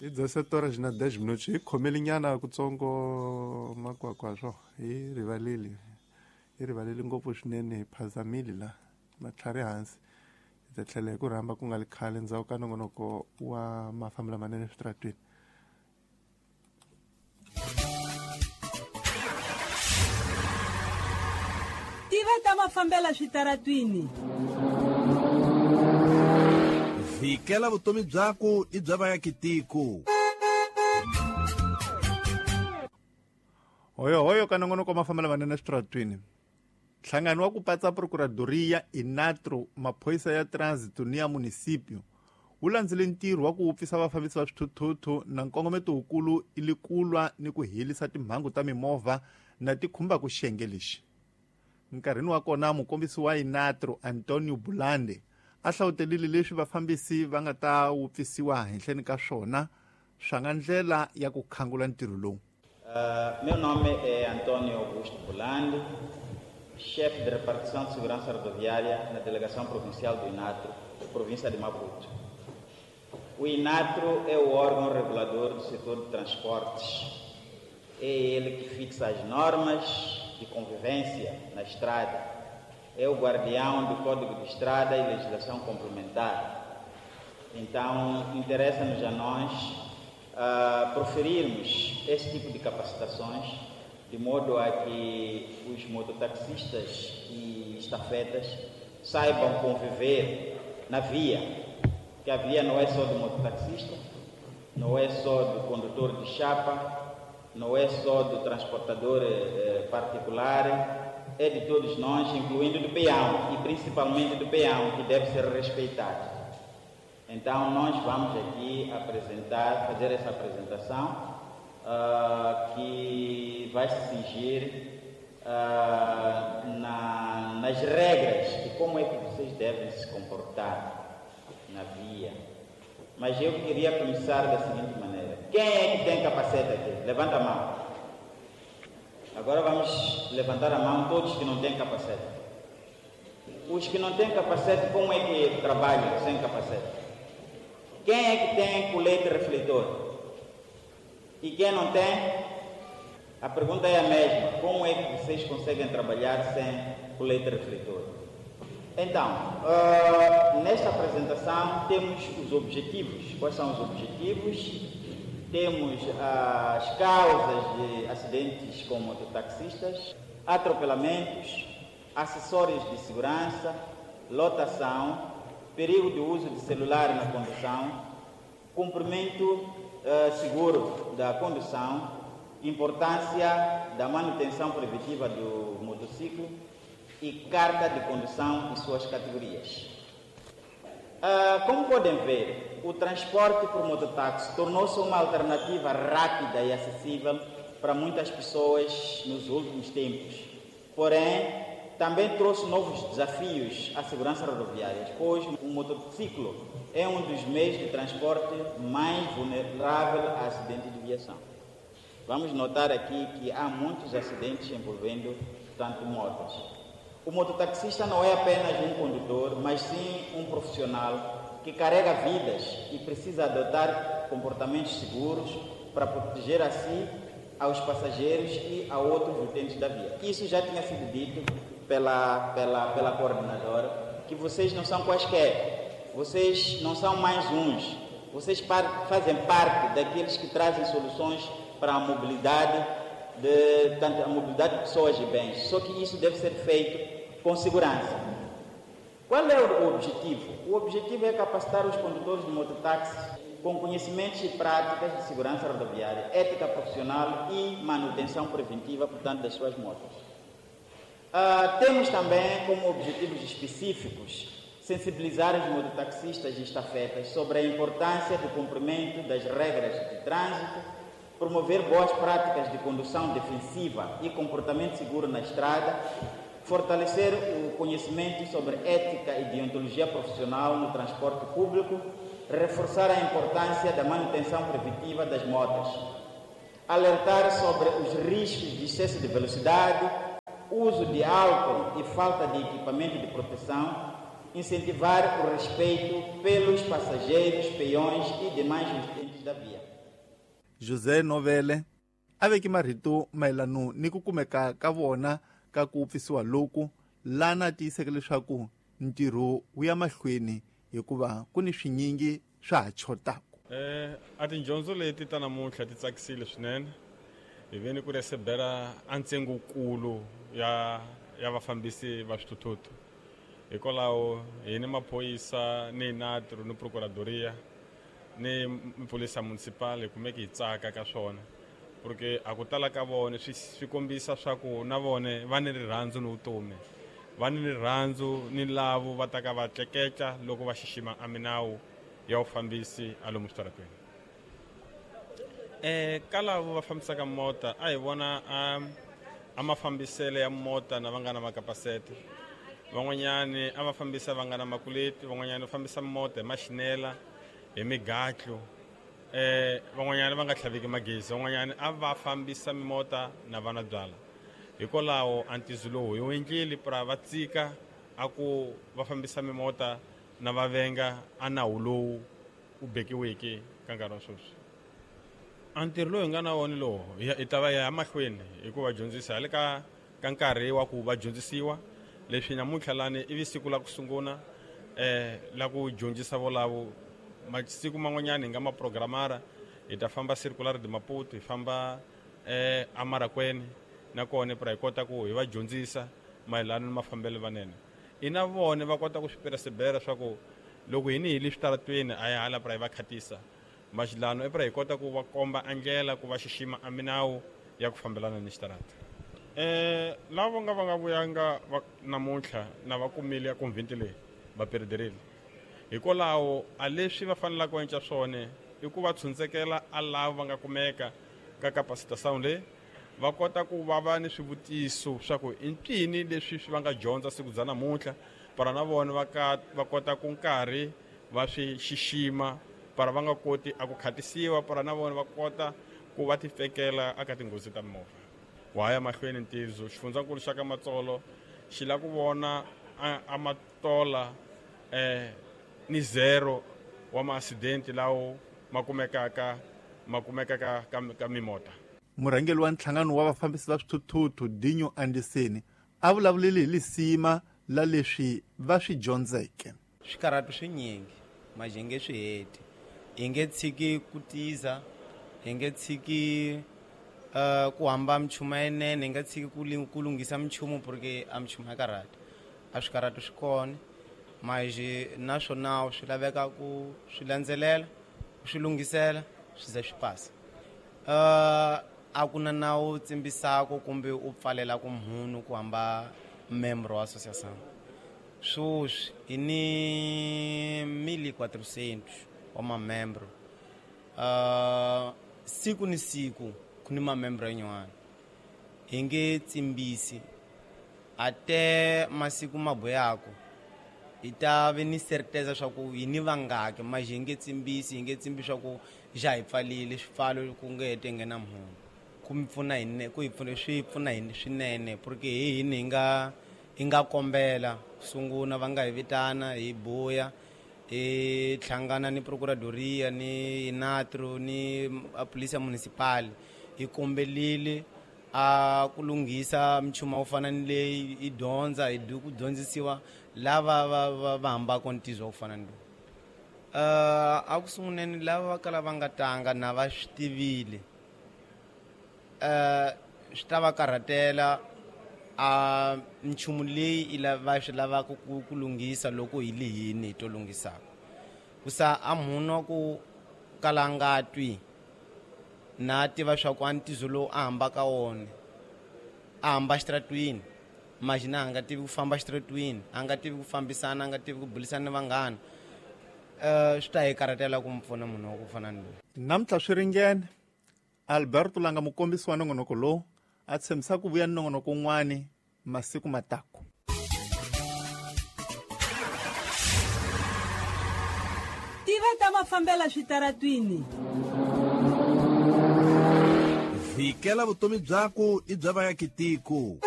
Hi 17 horas na 10 minutos hi khomelinyana kutsongo makwakwa swo hi rivaleli hi rivaleli ngopfu swinene hi phazamile la matlhari hansi. Hi ta tlhela hi ku rhamba ku nga li khale ndzhaku ka nongonoko wa mafambo lamanene eswitaratweni. Tiva ta mafambela switaratwini. Vikela vutomi byaku i bya vaakitiko. Hoyo hoyo ka nongonoko wa mafambelo lamanene eswitaratwini. Nhlangano wa ku patsa Procuradoria Inatro maphorisa ya Trânsito ni ya Município wu landzile ntirho wa ku wupfisa vafambisi va swithuthuthu na nkongometo wukulu i li kulwa ni ku helisa timhangu ta mimovha na ti khumbaka xiyenge lexi. Nkarhini wa kona mukombisi wa Inatro Antonio Bulande a hlawutelile leswi vafambisi va nga ta wupfisiwa henhleni ka swona swa nga ndlela ya ku khangula ntirho lowu. Meu nome é António Augusto Bulande, chefe de repartição de segurança rodoviária na Delegação Provincial do Inatro, província de Maputo. O Inatro é o órgão regulador do setor de transportes. É ele que fixa as normas de convivência na estrada. É o guardião do Código de Estrada e legislação complementar. Então, interessa-nos a nós proferirmos esse tipo de capacitações, de modo a que os mototaxistas e estafetas saibam conviver na via, que a via não é só do mototaxista, não é só do condutor de chapa, não é só do transportador particular, é de todos nós, incluindo do peão, e principalmente do peão, que deve ser respeitado. Então, nós vamos aqui apresentar, fazer essa apresentação, que vai se cingir nas regras de como é que vocês devem se comportar na via. Mas eu queria começar da seguinte maneira. Quem é que tem capacete aqui? Levanta a mão. Agora vamos levantar a mão todos que não têm capacete. Os que não têm capacete, como é que trabalham sem capacete? Quem é que tem colete refletor? E quem não tem? A pergunta é a mesma. Como é que vocês conseguem trabalhar sem colete refletor? Então, nesta apresentação temos os objetivos. Quais são os objetivos? Temos as causas de acidentes com mototaxistas, atropelamentos, acessórios de segurança, lotação, perigo de uso de celular na condução, cumprimento seguro da condução, importância da manutenção preventiva do motociclo e carta de condução e suas categorias. Como podem ver, o transporte por mototáxi tornou-se uma alternativa rápida e acessível para muitas pessoas nos últimos tempos. Porém, também trouxe novos desafios à segurança rodoviária, pois o motociclo é um dos meios de transporte mais vulnerável a acidentes de viação. Vamos notar aqui que há muitos acidentes envolvendo tanto motos. O mototaxista não é apenas um condutor, mas sim um profissional que carrega vidas e precisa adotar comportamentos seguros para proteger a si, aos passageiros e a outros utentes da via. Isso já tinha sido dito pela coordenadora, que vocês não são quaisquer, vocês não são mais uns, vocês fazem parte daqueles que trazem soluções para a mobilidade, tanto a mobilidade de pessoas e bens, só que isso deve ser feito com segurança. Qual é o objetivo? O objetivo é capacitar os condutores de mototáxis com conhecimentos e práticas de segurança rodoviária, ética profissional e manutenção preventiva, portanto, das suas motos. Temos também como objetivos específicos sensibilizar os mototaxistas e estafetas sobre a importância do cumprimento das regras de trânsito, promover boas práticas de condução defensiva e comportamento seguro na estrada, fortalecer o conhecimento sobre ética e deontologia profissional no transporte público, reforçar a importância da manutenção preventiva das motos, alertar sobre os riscos de excesso de velocidade, uso de álcool e falta de equipamento de proteção, incentivar o respeito pelos passageiros, peões e demais utentes da via. José Novele a veke marito mayelano ni ku kumeka ka vona ka ku wupfisiwa loku lana tiyiseke leswaku ntirho wu ya mahlweni hikuva ku ni swinyingi swa ha chotaka. A tindyondzo leti ta namuntlha ti tsakisile swinene hi veni ku resebera a ntsengokulu ya vafambisi va swithuthuthu. Hikwalaho hi ni maphorisa ni natro ni procuradoria ni polisa municipal hi kumeke hi tsaka ka swona porque a ku tala ka vona swi kombisa swa ku na vona va ni rirhandzu ni vutomi, va ni rirhandzu ni lavo va ta ka va tleketla loko va xixima a minawu ya vufambisi a lomu switarateni. Ka lavo va fambisaka mota a hi vona a mafambiselo ya mota na va nga na makapasete, van'wanyani a va fambisa va nga na makuleti, van'wanyani va fambisa mota hi maxinela hi migatlo, van'wanyani va nga tlhaveki magezi, van'wanyani a va fambisa mimota na vana byala. Hikwalaho a ntizo lowu hi wu endlile pra va tsika a ku va fambisa mimota na va venga a nawu lowu wu bekiweke ka nkarhi wa sweswi. A ntirho lowu hi nga na wona lowu hi ta va ya mahlweni hi ku va dyondzisa hi le ka nkarhi wa ku va dyondzisiwa leswi namuntlha lani ivi siku la ku sungula la ku dyondzisa volavo. Masiku man'wanyana hi nga maprogramara hi ta famba Circular de Maputo, hi famba eMarakwene nakona pra hi kota ku hi va dyondzisa mayelana ni mafambelo vanene. I na vona va kota ku swi percebera swa ku loko hini hi le switaratweni a hi hala pra hi va khatisa maxilano i pra hi kota ku va komba a ndlela ku va xixima a minawu ya ku fambelana ni xitarata. Lava nga va nga vuyanga namuntlha na va kumile ya convent leyi va perederile. Hikwalaho a leswi va fanelaka ku endla swona i ku va tshundzekela a lava va nga kumeka ka capacitação leyi va kota ku va va ni swivutiso swa ku i ncini leswi swi va nga dyondza siku bya namuntlha para na vona va kota ku nkarhi va swi xixima para va nga koti a ku khatisiwa para na vona va kota ku va tifekela aka tinghozi ta mimovha. Wa ya mahlweni ntizo xifundzankulu xa ka Matsolo xi lava ku vona a matola ni zero wa maaccident lawo ma kumekaka ka mimota. Murhangeri wa nhlangano wa vafambisi va swithuthuthu Dinyo Andiseni a vulavulile hi lisima la leswi va swi dyondzeke. Swikarhato swinyingi manje hi nge swi heti, hi nge tshiki ku tiza, hi nge tshiki ku hamba minchumu yinene, hi nga tshiki ku lunghisa minchumu porque a minchumu ya karhata. A swikarhato swi kona manje naswona swi laveka ku swi landzelela, ku swi lunghisela swi ze swi pasa. A ku na nawu tsimbisako kumbe u pfalelaka munhu ku hamba member wa association. Sweswi hi ni 1400 wa mamembro. Siku ni siku ku ni mamembro yin'wana. Hi nge tsimbisi ate masiku mabuyako hi ta ve ni certeza swa ku hi ni vangaki manje hi nge tsimbisi, hi nge tsimbi swa ku xa hi pfalile swipfalo ku nge hete nghena munhu. Ku mi pfuna hi ku hi pfuna swi pfuna hi swinene porque hi hini hi nga kombela sungula va nga hi vitana hi buya hi hlangana ni procuradoria ni natro ni polisia municipal hi kombelile a ku lunghisa minchumu wo fana ni leyi hi dyondza hi ku dyondzisiwa lava va hambaka ntizo wo fana ni lowu. A ku sunguleni lava va kala va nga tanga na va swi tivile swi ta va karhatela a nchumu leyi va swi lavaka ku lunghisa loko hi lihini hi to lunghisaka. Ku sa a munhu ku kala nga twi na tiva swa ku a ntizo lowu a hambaka wona a hamba xitaratwini manje na a nga tivi ku famba xitaratwini, a nga tivi ku fambisana, a nga tivi ku bulisana ni vanghana, swi ta hi karhatela ku mi pfuna munhu wa ku fana ni loyi. Namuntlha swi ringene Alberto langa mukombisi wa nongonoko lowu a tshembisa ku vuya ni nongonoko wun'wani masiku matako. Tiva ta mafambela switaratwini. Vhikela vutomi byaku i bya vayakitiko.